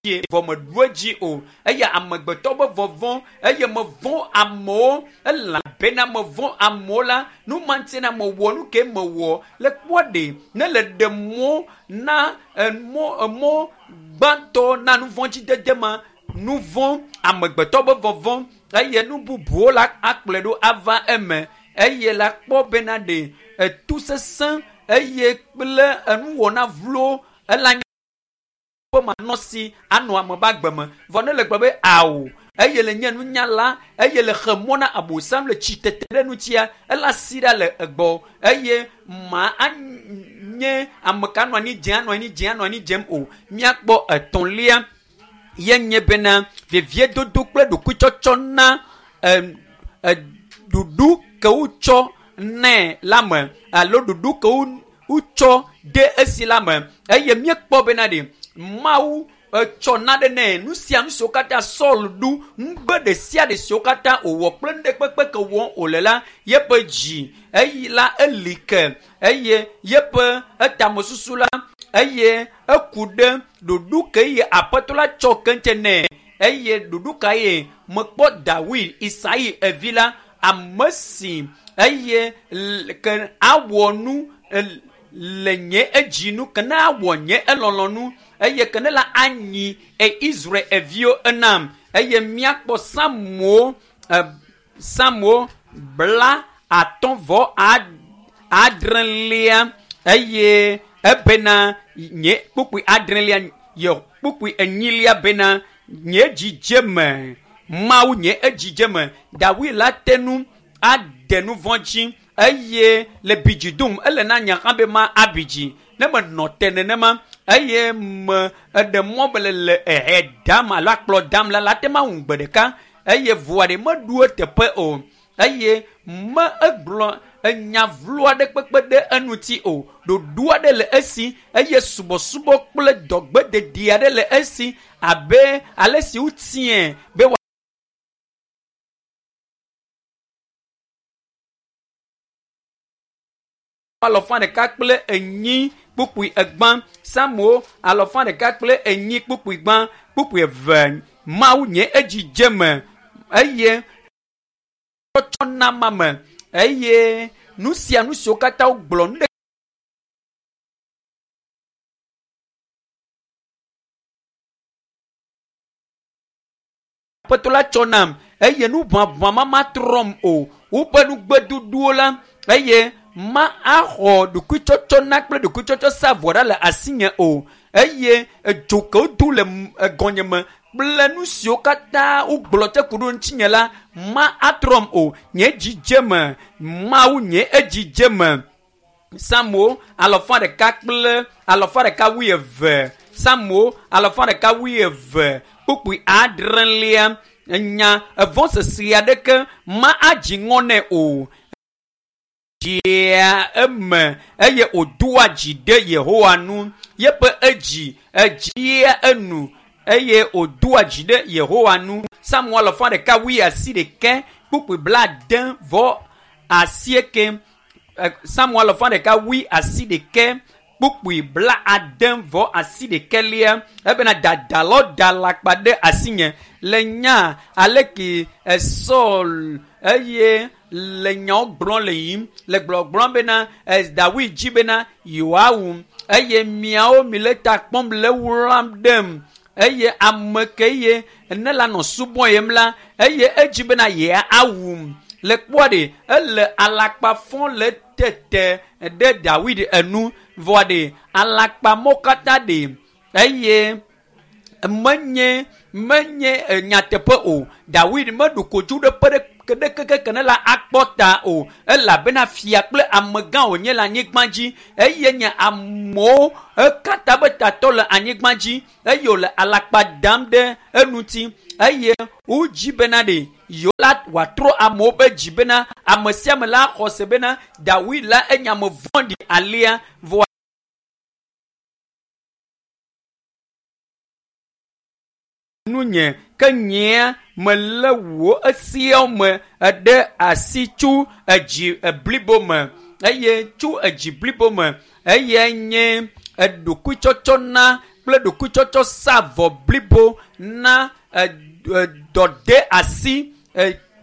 Dzie vɔ meɖu edzi o. Eye amegbetɔ be vɔvɔ̃ eye mevɔ̃ amewo elabena mevɔ̃ amewo la, nu ma ŋuti na mewɔ nu ke mewɔ. Le kpɔ ɖe ne le ɖe mɔ na emɔ emɔ gbãtɔ na nu vɔ̃ dzidede ma, nu vɔ̃ amegbetɔ be vɔvɔ̃ eye nu bubuwo la akplɔe ɖo ava eme eye la kpɔ bena ɖe etu sesẽ eye kple enuwɔna vlo ela nye ƒe manɔsi anɔ ame ƒe agbe me. Vɔ ne le gblɔ be ao eye le nye nunyala eye le xe mɔ na abosam le tsitete ɖe ŋutia ela si ɖa le egbɔ eye ma anye ame ka anɔ anyi dze anɔ anyi dze anɔ anyi dzem o. Míakpɔ etɔ̃lia ye nye bena veviedodo kple ɖokuitsɔtsɔ na ɖuɖu ke wotsɔ nɛ la me alo ɖuɖu ke wotsɔ de esi la me eye míekpɔ bena ɖe Mawu etsɔ naɖe nɛ nu sia nu siwo katã Saul ɖu nugbe ɖe sia ɖe siwo katã wòwɔ kple nu ɖe kpekpe ke wɔm wòle la yeƒe dzi eyi la eli ke eye yeƒe etamesusu la eye eku ɖe ɖoɖo ke ye aƒetɔ la tsɔ keŋtse nɛ eye ɖoɖo ka ye mekpɔ Dawid Isai evi la ame si eye ke awɔ nu le nye edzi nu ke ne awɔ nye elɔlɔnu eye ke ne la anyi e Israel eviwo enam eye míakpɔ Samuel Samuel 56 eye ebena nye kpukpui adrelia ye kpukpui enyilia bena nye dzidzeme Mawu nye edzidzeme Dawid la te nu ade nu vɔ̃ dzi eye le bidzi dom ele na nya hã be ma abidzi ne menɔ te nenema eye me eɖe mɔ be le ehe dam alo akplɔ dam la la te ma ŋu gbe ɖeka eye voa ɖe meɖu eteƒe o eye me egblɔ enya vlo aɖe kpekpe ɖe eŋuti o ɖoɖo aɖe le esi eye subɔsubɔ kple dɔgbededi aɖe le esi abe ale si wotiɛ be 140 kpukpui egbã Samuel 140 kpukpui gbã kpukpui eve Mawu nye edzidzeme eye tsɔtsɔ na ma me eye nu sia nu siwo katã wogblɔ nu ɖe aƒetɔ la tsɔ nam eye nu ʋaʋã ma matrɔm o woƒe nugbeduduwo la eye ma axɔ ɖokuitsɔtsɔ na kple ɖokuitsɔtsɔ sa vɔ ɖa le asinye o eye edzo ke wodo le egɔnye me kple nu siwo katã wogblɔ tse ku ɖo ŋutinye la ma atrɔm o nye dzidzeme Mawu nye edzidzeme Samuel 122 Samuel 122 kpukpui adrelia nya evɔ̃ sese aɖeke ma adzi ŋɔ nɛ o dzia eme eye wòdoa dzi ɖe Yehowa nu yeƒe edzi edzia enu eye wòdoa dzi ɖe Yehowa nu Samuel 188 kpukpui 78 Samuel 188 kpukpui 78 ebena dadalɔ da alakpa ɖe asinye le nya aleke Saul eye le nyawo gblɔm le yiyim le gblɔgblɔm bena Dawid dzi bena yewoawu eye miawo mi le ta kpɔm le wlam ɖem eye ame ke ye ne la nɔ subɔ yem la eye edzi bena yeawum le kpɔa ɖe ele alakpa fɔ le tete ɖe Dawid enu vɔa ɖe alakpa mɔ katã ɖe eye menye nyateƒe o Dawid meɖu kodzu ɖe ƒe ɖe keke ne la akpɔ ta o elabena fia kple amegã wònye le anyigba dzi eye nye amewo ekatã be tatɔ le anyigba dzi eye wòle alakpa dam ɖe eŋuti eye wodzi bena ɖe yewo la wòatrɔ amewo be dzi bena ame sia ame la xɔ se bena Dawid la enye ame vɔ̃ɖi alea vɔ nunye ke nyea melé wò esiawo me ɖe asi tso edzi blibo me eye tso edzi blibo me eye nye eɖokuitsɔtsɔ na kple ɖokuitsɔtsɔ sa vɔ blibo na dɔde asi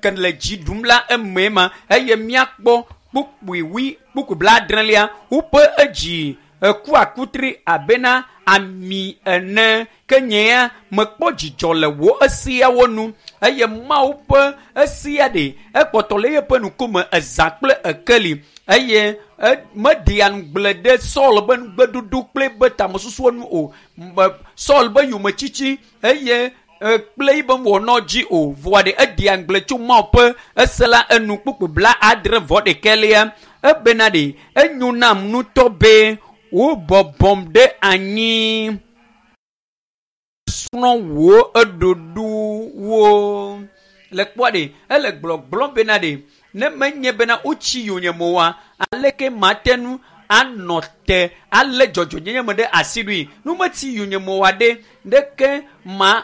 ke le dzi ɖum la eme ma eye míakpɔ kpukpui wi kpukpui 70 woƒe edzi eku akutri abena ami ene ke nye ya mekpɔ dzidzɔ le wò esiawo nu eye Mawu ƒe esia ɖe ekpɔtɔ le yeƒe ŋkume eza kple ekeli eye meɖea ŋugble ɖe Saul be nugbeɖuɖu kple be tamesusuwo nu o Saul be yometsitsi eye kple yibe wɔnɔ dzi o voa ɖe eɖea ŋugble tso Mawu ƒe ese la enu kpukpui 71 ebena ɖe enyo nam ŋutɔ be wobɔbɔm ɖe anyi srɔ̃ wò eɖoɖowo le kpɔa ɖe ele gblɔgblɔm bena ɖe ne menye bena wotsi yonyeme oa aleke mate ŋu anɔ te ale dzɔdzɔnyenye me ɖe asi ɖui nu metsi yonyeme oa ɖe ɖeke ma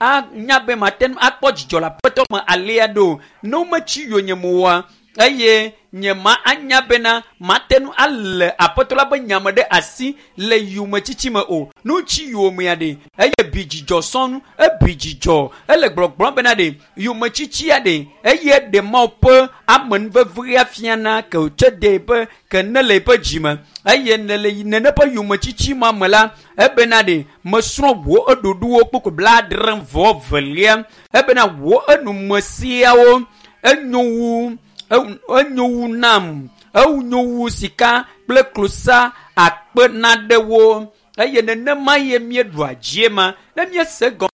anya be mate ŋu akpɔ dzidzɔ le aƒetɔ me alea ɖo ne wometsi yonyeme oa eye nye ma anya bena mate ŋu ale aƒetɔ la be nyame ɖe asi le yometsitsi me o nu tsi yomea ɖe eye bi dzidzɔ sɔnu ebi dzidzɔ ele gblɔgblɔm bena ɖe yometsitsia ɖe eye ɖe Mawu ƒe amenuvevea fiana ke wòtse de be ke ne le eƒe dzime eye ne le nene ƒe yometsitsi ma me la ebena ɖe mesrɔ̃ wò eɖoɖowo kpukpui 72 ebena wò enume siawo enyo wu nam enyo wu sika kple klosa akpe naɖewo eye nenema ye míeɖua dzie ma ne míese gɔme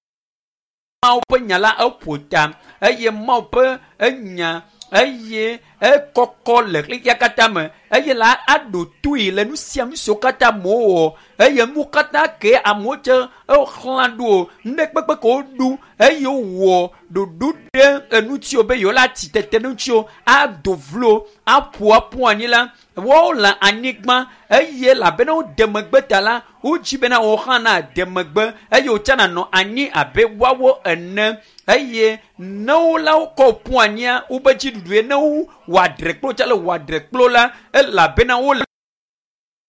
Mawu ƒe nya la eƒo ta eye Mawu ƒe enya eye ekɔkɔ le xexea katã me eye la aɖo toe le nu sia nu siwo katã amewo wɔ eye nu katã ke amewo tse exlã ɖo nu ɖe kpekpe ke woɖu eye wowɔ ɖoɖo ɖe enutsiwo be yewo la tsi tete ŋutsiwo ado vlo aƒo aƒu anyi la woawo le anyigba eye elabena wode megbe ta la wodzi bena wo hã na de megbe eye wotsa nanɔ anyi abe woawo ene eye ne wo la wokɔ ƒu anyia wobe dziɖuɖue ne wo wɔ adrekplo tsa le wɔ adrekplo la elabena wole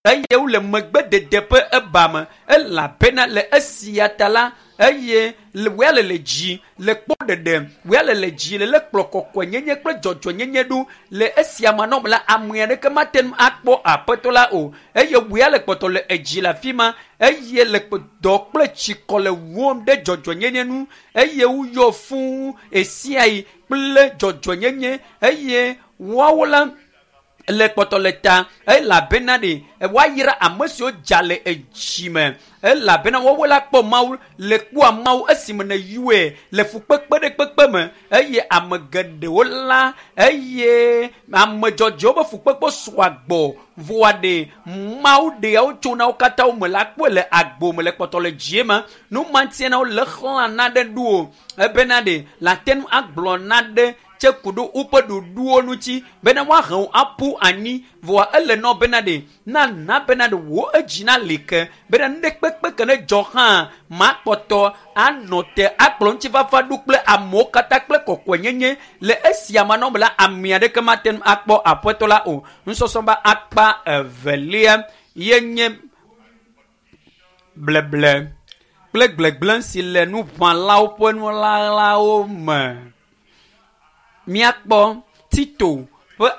eye wole megbedede ƒe eba me elabena le esia ta la eye wòya le le dzi le kpɔ ɖeɖe wòya le le dzi le le kplɔ kɔkɔenyenye kple dzɔdzɔenyenye ɖo le esia manɔme la ame aɖeke mate ŋu akpɔ aƒetɔ la o eye wòya le kpɔtɔ le edzi le afi ma eye le dɔ kple tsikɔ le wɔm ɖe dzɔdzɔenyenye nu eye woyɔ fũu esia yi kple dzɔdzɔenyenye eye woawo la le kpɔtɔ le ta elabena ɖe woayra ame siwo dza le edzi me elabena woawo la kpɔ Mawu le kpɔa Mawu esime ne yɔe le fukpekpe ɖe kpekpe me eye ame geɖewo la eye ame dzɔdzɔewo be fukpekpe sɔa gbɔ voa ɖe Mawu ɖeawo tsona wo katã wo me la kpɔe le agbo me le kpɔtɔ le dzie ma nu ma ŋutia na wole xlã na ɖe ɖo o ebena ɖe la te ŋu agblɔ na ɖe tse ku ɖo woƒe ɖoɖowo ŋuti bena woahe wo aƒu anyi voa ele nɔ bena ɖe nana bena ɖe wò edzi na li ke bena nu ɖe kpekpe ke ne dzɔ hã makpɔtɔ anɔ te akplɔ ŋutifafa ɖo kple amewo katã kple kɔkɔenyenye le esia manɔme la ame aɖeke mate ŋu akpɔ aƒetɔ la o. Nusɔsrɔ̃ be akpa evelia ye nye bleble kple gblegblẽ si le nuʋãlawo ƒe nulalalawo me. Míakpɔ Tito ƒe